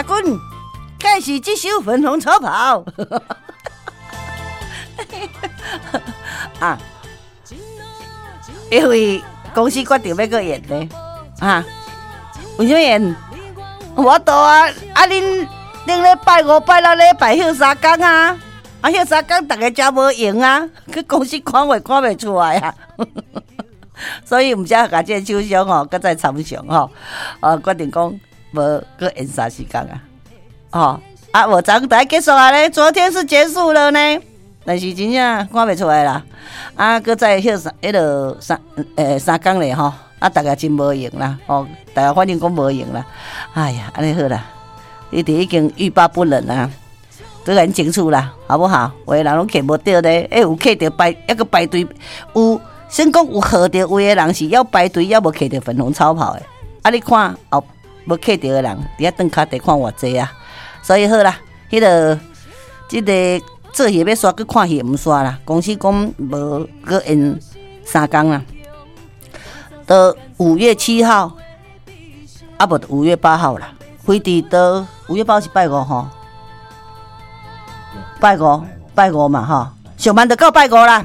阿君，開始這首粉紅超跑。啊，因為公司決定欲閣延呢，啊，為啥物延？無法度啊！啊，恁頂禮拜五、拜六禮拜歇三工啊，啊歇三工，逐家誠無閒啊，去公司趕貨趕袂出來啊，所以毋才共這個廠商吼，閣再參詳吼，啊決定講無閣延30工啊，吼啊無昨昏結束啊咧，昨天是結束了呢，但是真正趕袂出來啦，啊閣再歇三彼落三三工咧吼。啊，逐家真無閒啦，吼，逐家反正講無閒啦。哎呀，按呢好啦，你哋已經欲罷不能啦，都共𪜶爭取啦，好不好？有的人攏客無著咧，欸，有客著排，猶閣排隊，有先講有號著位的人是猶排隊，猶無客著粉紅超跑的。啊，你看後無客著的人，佇遐轉跤地看偌濟啊。所以好啦，彼個這個做戲欲煞，閣看戲毋煞啦。公司講無閣延三工啦。到5月7號，啊無5月8號啦，飛佇到5月8號是拜五吼，拜五拜五嘛吼，上慢就到拜五啦，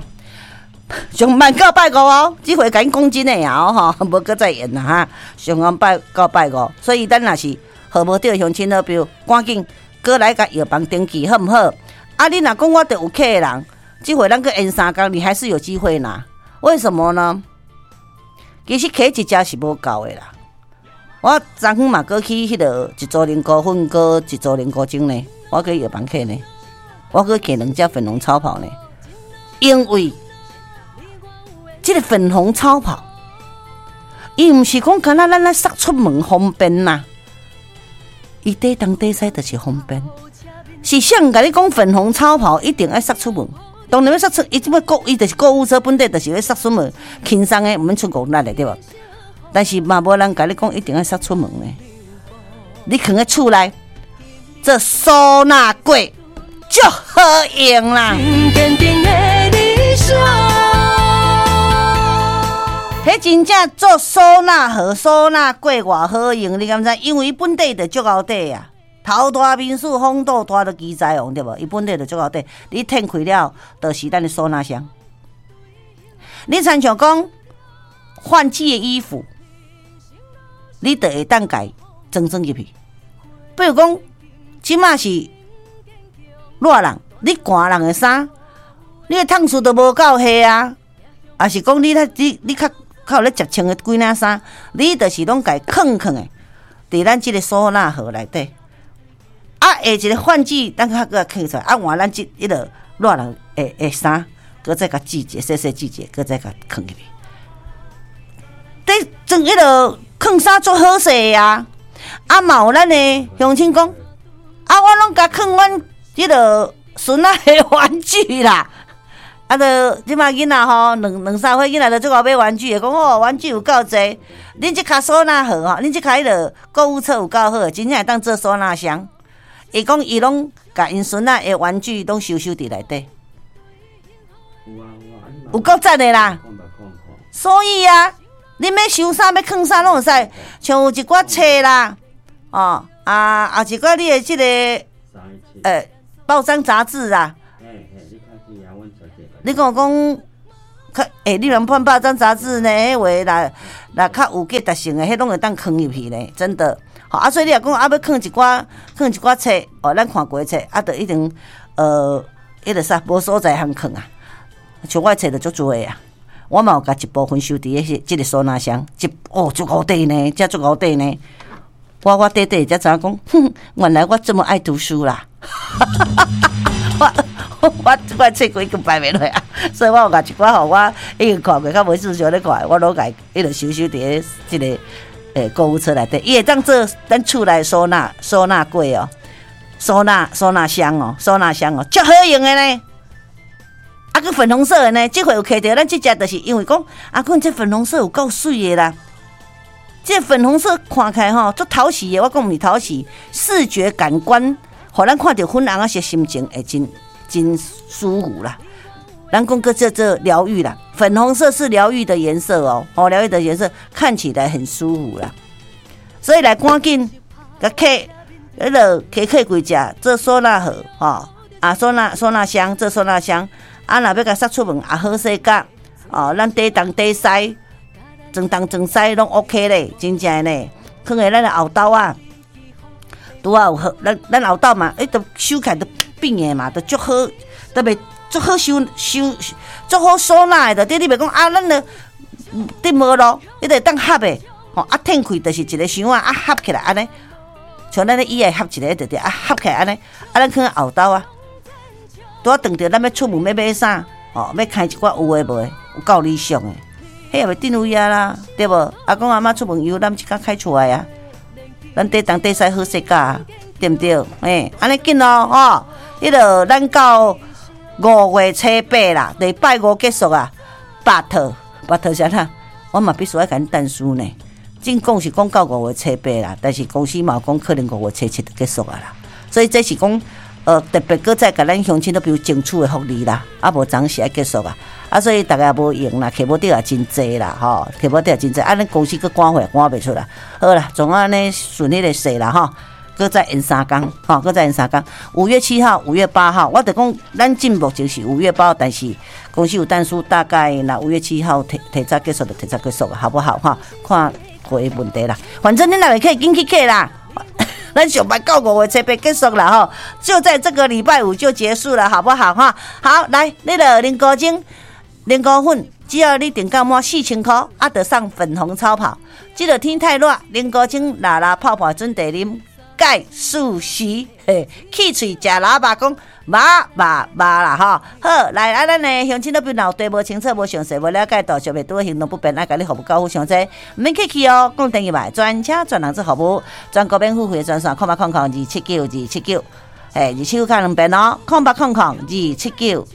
上慢到拜五哦，這回共恁講真的啊吼，無閣再延啦哈，上慢拜到拜五，所以咱若是號無著鄉親好朋友，趕緊閣來共藥房登記好毋好？啊，你若講我著有客的人，這回咱閣延三工，你還是有機會拿，為什麼呢？其實揢一隻是無夠的啦。我昨昏嘛，閣去彼落一組靈菇粉，閣一組靈菇精呢。我去藥房揢呢，我閣揢兩隻粉紅超跑呢。因為這個粉紅超跑，伊毋是講干焦咱咧捒出門方便啦，伊綴東綴西就是方便。是誰共你講粉紅超跑一定愛捒出門？當然欲捒出，伊這擺購，伊就是購物車本底就是欲捒出門，輕鬆的，毋免出五力的對無？但是嘛，無人共你講一定愛捒出門的。你囥佇厝內做收納櫃，足好用啦。彼真正做收納盒、收納櫃偌好用，你敢知？因為伊本底就足厚底啊。頭大面鼠，風度大，就奇才王對無？伊本底就足厚底，你展開了，就是咱的收納箱。你親像講換季的衣服，你就會當共裝裝入去。比如講，這馬是熱人，你寒人的衫，你的燙數都無夠下啊，抑是講你較你你較較有咧接穿的幾領衫，你就是攏共囥囥的，佇咱這個收納盒內底。啊，下一個換季，咱較閣囥出來，啊換咱這彼落熱人的的衫，閣再共折一下，細細折一下，閣再共囥入去。佇裝彼落囥衫足好勢的啊！啊嘛有咱的鄉親講，啊我攏共囥阮彼落孫仔的玩具啦。啊，著這馬囡仔吼，兩兩三歲囡仔就足𠢕買玩具的，講哦玩具有夠濟。恁這跤收納盒吼，恁這跤彼落購物車有夠好，真正會當做收納箱。伊講伊攏共𪜶孫仔的玩具攏收收佇內底，有夠讚的啦！所以啊，恁欲收衫欲囥啥攏會使，像有一寡冊啦，哦啊，也一寡你的這個報章雜誌啊。你講講，較欸，你若看報章雜誌呢？彼話若若較有價值性的，彼攏會當囥入去呢，真的。好啊，所以你若講啊，欲囥一寡，囥一寡冊，哦，咱看過的冊，啊，就一定彼个啥，無所在通囥啊。像我的冊就足濟啊，我嘛有共一部分收佇彼這個收納箱，一哦足厚底呢，遮足厚底呢。我我短短才知影講，哼，原來我這麼愛讀書啦。我我我冊櫃已經擺袂落啊，所以我有共一寡吼，我已經看過，較無事想咧看，我攏共彼落收收佇咧這個。欸，購物車內底，伊會當做咱厝內收納收納櫃哦，收納收納箱哦，收納箱哦，足好用的呢。啊，閣粉紅色的呢，這回有揢著咱這隻，就是因為講，阿君這粉紅色有夠媠的啦。這粉紅色看起來吼，足討喜的，我講毋是討喜，視覺感官，予咱看著粉紅仔色，心情會真真舒服啦。咱講閣叫做療癒啦，粉紅色是療癒的顏色哦，哦，療癒的顏色看起來很舒服啦，所以來趕緊共客，彼落溪客櫃食做收納盒吼，啊收納收納箱做收納箱，啊若欲共捒出門也好勢甲，哦，咱底東底西，裝東裝西攏 OK 咧，真正咧，囥佇咱的後兜啊，拄仔有好，咱咱後兜嘛，欸，都收起來都變的嘛，都足好，特別足好收收，足好收納的，對你袂講啊，咱的佇無咯，彼會當合的，吼啊，褪開就是一个箱仔啊，合起來按呢，像咱的椅仔合一个就對，啊合起來按呢，啊咱囥後兜啊，拄仔當著咱欲出門欲買啥，吼，欲開一寡有的無的，有夠理想的，彼也袂鎮位啊啦，對無？阿公阿嬤出門遊覽一工開出來啊，咱底東底西好勢甲啊，對毋對？欸，按呢緊咯，吼，彼落咱到五月初八啦，禮拜五結束啊，but but 啥啦？我嘛必須愛共恁但書呢。正講是講到五月初八啦，但是公司嘛有講可能五月初七就結束啊啦。所以這是講，特別閣再共咱鄉親都比如爭取的福利啦，啊無昨時愛結束啊，啊所以逐家無閒啦，客無得也真濟啦，吼，客無得也真濟，啊咱公司閣趕貨趕袂出來，好啦，總按呢順彼个勢啦，吼。閣再延三工，吼，閣再延三工。5月7號、5月8號，我就講咱進目前是五月八號，但是公司有但書，大概若五月七號提提早結束就提早結束，好不好？哈，看會問題啦。反正恁若會客，緊去客啦。咱上擺到五月初八結束啦，吼，就在這個禮拜五就結束了，好不好？哈，好，來，你的林高精、林高粉，只要你訂購滿4000箍，啊，就送粉紅超跑。這個天太熱，林高精拉拉泡泡準備啉。蓋素食，嘿，氣喙食喇叭講，肉肉肉啦吼。好，來啊，咱的鄉親老朋友對無清楚、無詳細、無了解，到小袂拄行動不便，愛共你服務到府上濟，毋免客氣哦。講電話專車專人做服務，全國免付費專線，0800279279，嘿，二七九敲兩遍哦，0800279279，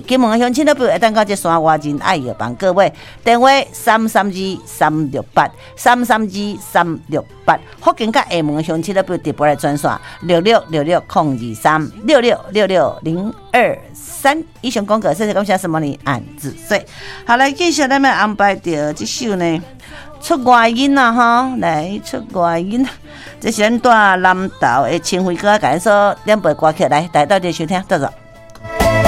金門的鄉親老朋友會當到這山外仁愛藥房各位電話332368332368，福建佮廈門的鄉親老朋友直撥來專線66660236666023。以上廣告，謝謝感謝什麼呢？按子歲。好來，繼續咱們安排著這首呢出外音啊，吼，來出外音，這是咱蹛南投的清輝哥共咱所點播歌曲，來，大家鬥陣收聽，多謝。